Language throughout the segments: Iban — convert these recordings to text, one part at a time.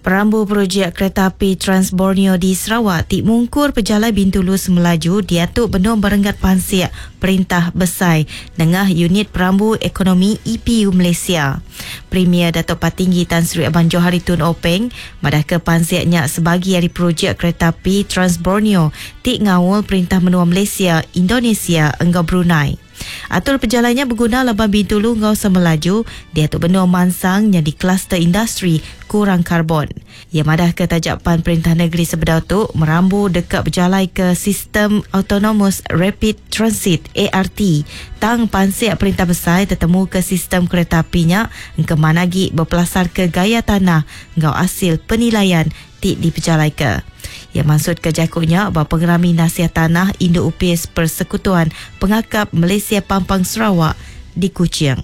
Perambu projek kereta api Trans Borneo di Sarawak ti mungkur pejalai Bintulu Semelaju diatu benung berenggat pansik Perintah Besai nengah Unit Perambu Ekonomi EPU Malaysia. Premier Datuk Patinggi Tan Sri Abang Johari Tun Openg madahka pansik nya sebagi ari projek kereta api Trans Borneo ti ngaul Perintah Menua Malaysia, Indonesia enggau Brunei. Atur pejalai nya beguna laban Bintulu enggau Semelaju diatu benung mansang nyadi kluster industri kurang karbon. Iya madahka taja pan perintah negeri sebedau tu merambu deka bejalaika sistem Autonomous Rapid Transit, ART, tang pansik perintah besai tetemuka sistem kereta api nya engkeman agi bepelasarka gaya tanah enggau asil penilaian ti dipejalaika. Iya mansutka jaku nya ba Pengerami Nasih Tanah Indu Opis Persekutuan Pengakap Malaysia Pampang Sarawak di Kuching.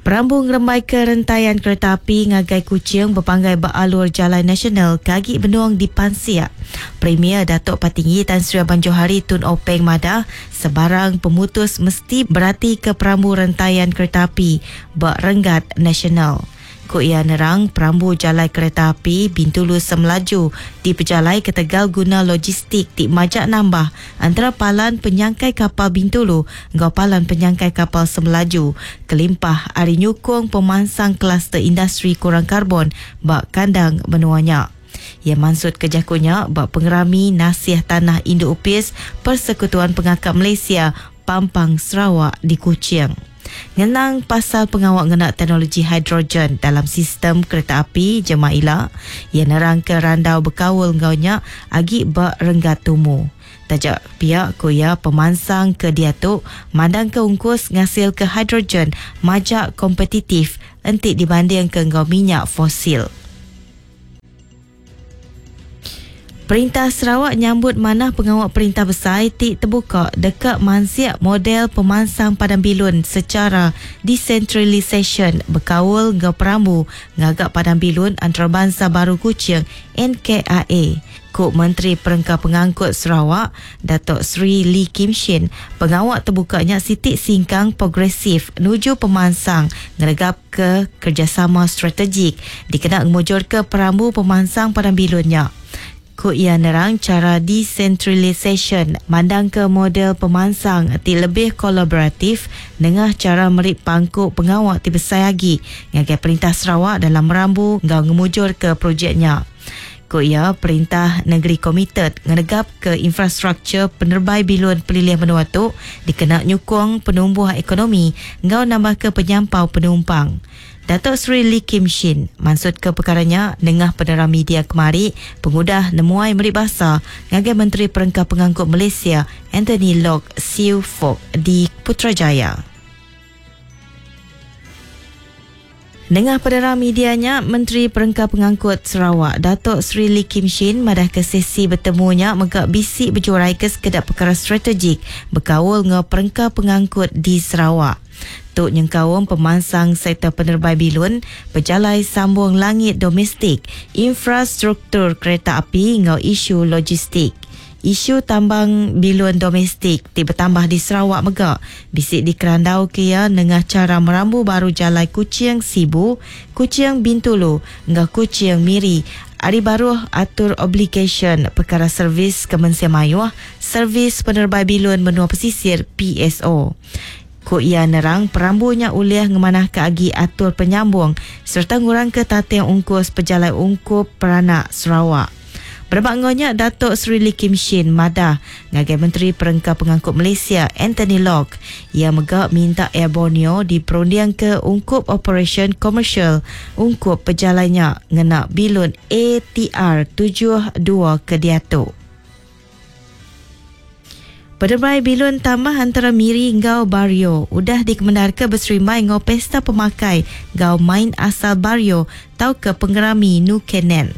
Perambu ngerembaika rentayan kereta api ngagai Kuching bepanggai ba alur jalai nasional ke agi benung dipansik. Premier Datuk Patinggi Tan Sri Abang Johari Tun Openg madah, sebarang pemutus mesti beratika perambu rentayan kereta api ba renggat nasional. Ku iya nerang, perambu jalai kereta api Bintulu Semelaju dipejalai ketegal guna logistik ti majak nambah entara palan penyangkai kapal Bintulu enggau palan penyangkai kapal Semelaju kelimpah ari nyukung pemansang kluster industri kurang karbon ba kandang menua nya. Iya mansutka jaku nya ba Pengerami Nasih Tanah Indu Opis Persekutuan Pengakap Malaysia Pampang Sarawak di Kuching. Ngenang pasal pengawa ngena teknologi hidrogen dalam sistem kereta api jemah ila, iya nerangka randau bekaul enggau nya agi ba renggat tumu. Taja pia ku iya pemansang ke diatu mandangka ungkus ngasilka hidrogen majak kompetitif enti dibandingka enggau minyak fosil. Perintah Sarawak nyambut manah pengawa perintah besai ti tebuka deka mansik model pemansang padang bilun sechara desentralisasyen bekaul enggau perambu ngaga Padang Bilun Antarabansa Baru Kuching, NKIA. Ku Menteri Perengka Pengangkut Sarawak, Datuk Seri Lee Kim Shin, pengawa tebuka nya siti singkang progresif nuju pemansang ngeregap ke kerejasama strategik dikena ngemujurka perambu pemansang padang bilun nya. Ku iya nerang chara desentralisasyen mandangka model pemansang ti lebih kolaboratif nengah chara meri pangku pengawa ti besai agi ngagai Perintah Sarawak dalam merambu enggau ngemujurka projek nya. Ku iya, perintah nengeri komited ngenegapka infrastruktur penerbai bilun pelilih menua tu dikena nyukung penumbuh ekonomi enggau nambahka penyampau penumpang. Datuk Seri Lee Kim Shin mansutka pekara nya nengah penerang media kemari pengudah nemuai meri basa ngagai Menteri Perengka Pengangkut Malaysia Anthony Loke Siew Fook di Putrajaya. Nengah penerang media nya, Menteri Perengka Pengangkut Sarawak, Datuk Seri Lee Kim Shin madahka sesi betemu nya mega bisi bejuraika sekeda pekara strategik bekaul enggau perengka pengangkut di Sarawak. Tu nyengkaum pemansang sektor penerbai bilun, pejalai sambung langit domestik, infrastruktur kereta api enggau isu logistik. Isu tambang bilun domestik ti betambah di Sarawak mega bisi dikerandauka iya nengah chara merambu baru jalai Kuching-Sibu, Kuching-Bintulu enggau Kuching-Miri ari baruh atur obligasyen pekara servis ke mensia mayuh Servis Penerbai Bilun Menua Pesisir, PSO. Ku iya nerang, perambu nya ulih ngemanahka agi atur penyambung sereta ngurangka tating ungkus pejalai ungkup peranak Sarawak. Berebak enggau nya, Datuk Seri Lee Kim Shin madah ngagai Menteri Perengka Pengangkut Malaysia Anthony Loke, iya mega minta Air Borneo diperundingka ungkup operasyen komersial ungkup pejalai nya ngena bilun ATR 72 ke diatu. Penerebai bilun tambah antara Miri enggau Bario udah dikemendarka beserimbai enggau pesta pemakai enggau main asal Bario tauka pengerami Nukenen.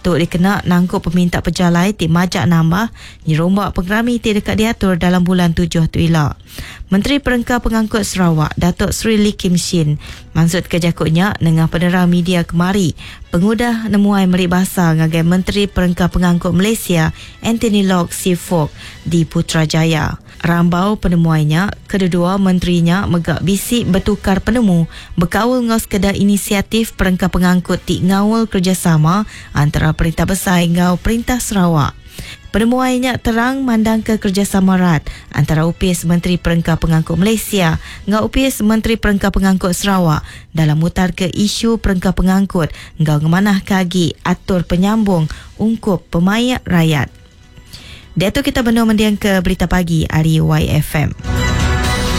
Tu dikena nangkup peminta pejalai ti majak nambah nyerumba pengerami ti deka diatur dalam bulan tujuh tu ila. Menteri Perengka Pengangkut Sarawak, Datuk Seri Lee Kim Shin mansutka jaku nya nengah penerang media kemari. Pengudah nemuai meri basa ngagai Menteri Perengka Pengangkut Malaysia Anthony Loke Siew Fook di Putrajaya. Rambau penemuai nya, kededua menteri nya mega bisi betukar penemu bekaul enggau sekeda inisiatif perengka pengangkut ti ngaul kerejasama antara Perintah Besai enggau Perintah Sarawak. Penemuai nya terang mandangka kerejasama rat antara Opis Menteri Perengka Pengangkut Malaysia enggau Opis Menteri Perengka Pengangkut Sarawak dalam mutarka isu perengka pengangkut enggau ngemanahka agi atur penyambung ungkup pemaik rayat. Diatu kita benung mendingka Berita Pagi ari YFM.